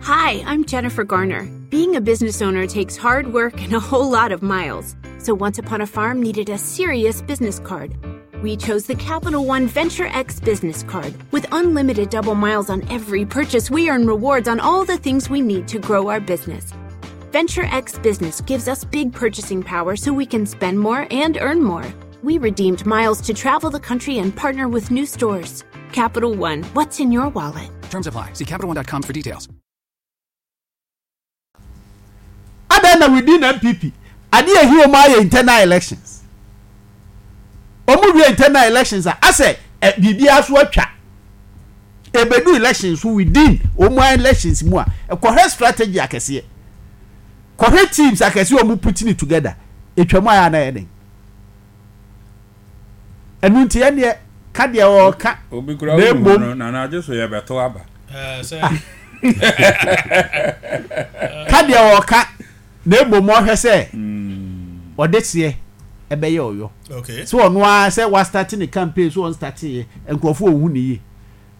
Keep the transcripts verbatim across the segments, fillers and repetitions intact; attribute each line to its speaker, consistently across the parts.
Speaker 1: Hi, I'm Jennifer Garner. Being a business owner takes hard work and a whole lot of miles. So Once Upon a Farm needed a serious business card. We chose the Capital One Venture X business card. With unlimited double miles on every purchase, we earn rewards on all the things we need to grow our business. Venture X Business gives us big purchasing power so we can spend more and earn more. We redeemed miles to travel the country and partner with new stores. Capital One, what's in your wallet?
Speaker 2: Terms apply. See Capital One dot com for details.
Speaker 3: Adan na within N P P adeɛ ehi wɔn ayɛ internal elections. Wɔn wie internal elections a, asɛ ɛ biribiara so atwa ebedu elections so. Within wɔn elections mu a, ɛkɔhwɛ strategy akɛseɛ, kɔhwɛ teams akɛseɛ wɔn putting it together, etwa mu ayɛ anayɛ den. Ɛnu nti ɛneɛ ka deɛ ɔɔka.
Speaker 4: Obi kura
Speaker 3: na
Speaker 4: wo
Speaker 3: emom
Speaker 4: no nana agye so yɛ bɛto aba.
Speaker 5: Eh, sɛ
Speaker 3: ka deɛ ɔɔka, na emom ɔhwɛ sɛ ɔde seɛ ɛbɛyɛ ɔyɔ.
Speaker 5: Okay
Speaker 3: sɛ ɔno ara sɛ wa start ne campaign so, ɔn start yɛ, nkurɔfoɔ ohun ne yie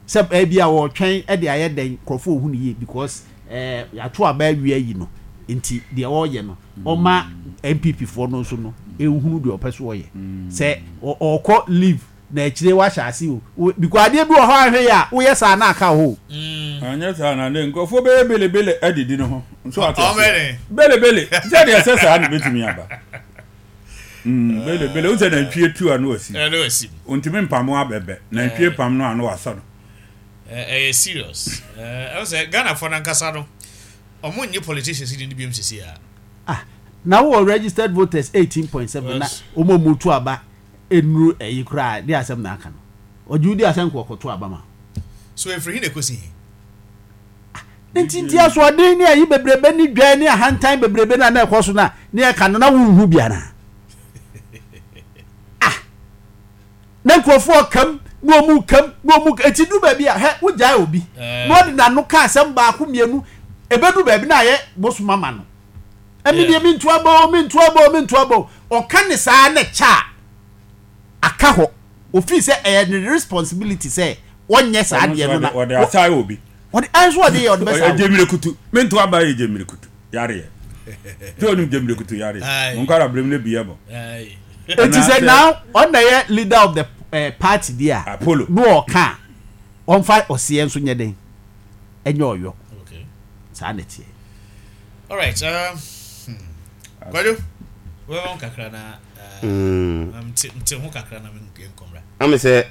Speaker 3: sɛ ɛbi a wɔtwɛn ɛde ayɛ dɛn, nkurɔfoɔ ohun ne yie because ɛɛ yàtò aba awie ayi no. Nti deɛ ɔreyɛ no, ɔma N P P foɔ no nso no ehunu deɛ ɔpɛ so ɔyɛ sɛ ɔ- ɔkɔ leave na akyire wahyɛ ase o. O- because adeɛ bi wɔ hɔ ahwɛ yi a, woyɛ saa na aka hɔ o.
Speaker 4: Anyɛ saa na ne nkurɔfoɔ bɛyɛ belebele adidi ne ho nso ate
Speaker 5: ɔmɛ
Speaker 4: aseɛ.
Speaker 5: Ne
Speaker 4: Belebele sɛdeɛ ɛsɛ saa na bɛtumi aba. Mm, belebele wo sɛ nantwie tu a no wasi.
Speaker 5: Ɛno asi.
Speaker 4: Ntumi mpam abɛbɛ nantwie pam no a no wasɔ no.
Speaker 5: Ɛyɛ serious. Ɛwɔ sɛ Ghanafoɔ no ankasa no, ɔmo nye politicians ni ni biom sisi a.
Speaker 3: Ah, na wowɔ registered voters eighteen point seven na
Speaker 5: Yes.
Speaker 3: wɔn a wɔn tu aba enuru ɛyi koraa de asɛm na aka no, ɔgye wodi asɛm kɔ kɔto aba ma.
Speaker 5: So efiri hin na ekosi hin?
Speaker 3: Nti nti asoɔden ne ayi bebrebe ne dwa ne ahantan bebrebe na na ɛkɔ so na ne ɛka no na wonhu biara. Ah, na nkurɔfoɔ kam na ɔmu kam na ɔmu eti du baabi a hɛ wogyae obi
Speaker 5: Eh.
Speaker 3: na ɔde n'ano ka asɛm baako mmienu, ebedu baabi na ayɛ bosom ama no. Ɛmi deɛ, mi ntu aba o, mi ntu aba o, mi ntu aba o. Ɔka ne saa na kyɛ a aka hɔ ofin sɛ ɛyɛ ne responsibility sɛ ɔnyɛ saa
Speaker 4: Ɔno
Speaker 3: adeɛ
Speaker 4: nso
Speaker 3: no na
Speaker 4: ɔde asae obi.
Speaker 3: Ɔde ɛnso ɔde yɛ ɔde bɛ saa.
Speaker 4: Ɔyɛ gyemire mento aba yɛ gyemire kutu yareɛ tí o ní gyemire kutu yareɛ.
Speaker 5: Aye.
Speaker 4: Nkara birim ne bi yɛ bɔ.
Speaker 5: Aye.
Speaker 3: Eti sɛ
Speaker 4: Anaasɛ-
Speaker 3: now ɔna yɛ leader of the uh, party di a
Speaker 4: Apollo.
Speaker 3: No ɔka a, ɔnfa ɔseɛ nso nyɛ den ɛnyɛ ɔyɔ.
Speaker 5: Okay.
Speaker 3: Saa na teɛ.
Speaker 5: All right. Um, hmm. Kwadwo, wɔbɛn kakra na uh,
Speaker 6: Mm.
Speaker 5: nte nte ho kakra na nkɔmra.
Speaker 6: Ame sɛ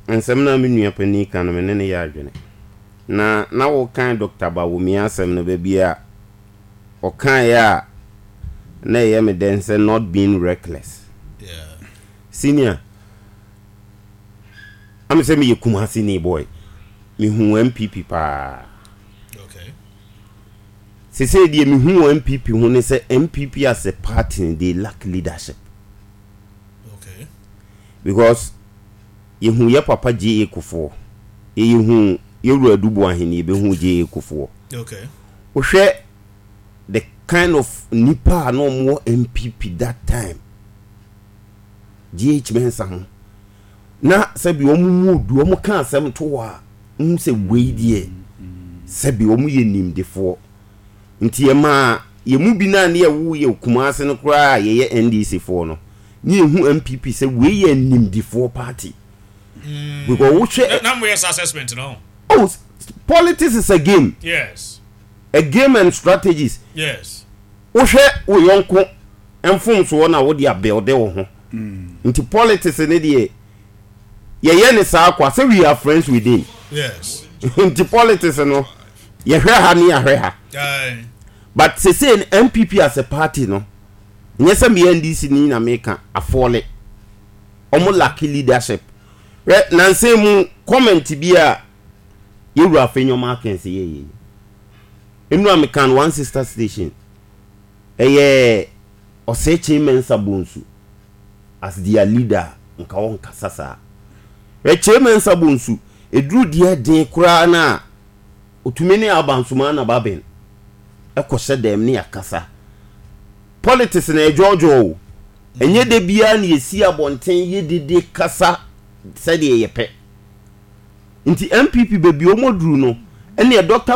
Speaker 6: nsɛm no a me nua panin ka no, me ne ne yɛ adwene na na wokan Doctor Bawumia asɛm no, baabi a ɔkaeɛ a na ɛyɛ me dɛn sɛ not being reckless.
Speaker 5: Yeah.
Speaker 6: Senior, ame sɛ meyɛ Kumase ni boy, mehu N P P paa.
Speaker 5: Okay.
Speaker 6: Sesei deɛ mehu wɔ N P P ho ne sɛ N P P as a party, they lack leadership.
Speaker 5: Okay.
Speaker 6: Because yɛhu yɛ papa J A. Kufuor, yɛyɛhu yɛwura Adu Boahene, yɛbɛhu J A. Kufuor.
Speaker 5: Okay.
Speaker 6: Wohwɛ the kind of nipa a na ɔmowɔ N P P that time, G H Mensa ho na sɛbi ɔmo mu odu, ɔmo ka asɛm to hɔ a, wohu sɛ wei deɛ sɛbi ɔmo yɛ nimdefoɔ. Nti yɛmaa yɛn mu bi naa ne yɛwo yɛ Kumase no koraa a yɛyɛ N D C foɔ no ne yɛhu N P P sɛ wei yɛ nimdefoɔ party because wohwɛ
Speaker 5: Na na mo yɛ sa assessment no.
Speaker 6: Oh, s- politics is a game.
Speaker 5: Yes.
Speaker 6: A game and strategies.
Speaker 5: Yes.
Speaker 6: Wohwɛ wo yɔnko mfomsoɔ na wode abuild wo ho. Nti politics ne deɛ yɛyɛ ne saa kwa sɛ we are friends within.
Speaker 5: Yes.
Speaker 6: Nti politics no, yɛhwɛ ha ne yɛahwɛ ha.
Speaker 5: Aye.
Speaker 6: But sesei no, N P P as a party no, nyɛ sɛ meyɛ N D C ni na meka afɔle, ɔmo lack leadership. Hwɛ nansɛn mu comment bi a yɛwura Afenyo Markins yɛyɛ nnura mekan one sister station, ɛyɛ Osei Kyei Mensah Bonsu as their leader, nka wɔnkasa saa. Hwɛ, Kyei Mensah Bonsu ɛduru deɛ den koraa no a, otumi ne Alban Sumana Bagbin ɛkɔhyɛ dɛm ne akasa. Politics na ɛdwɔɔdwɔɔ o, ɛnyɛ da biara na yɛsi abɔnten yɛdede kasa sɛdeɛ yɛpɛ. Nti N P P baabi ɔmɔduru no, ɛneɛ Doctor.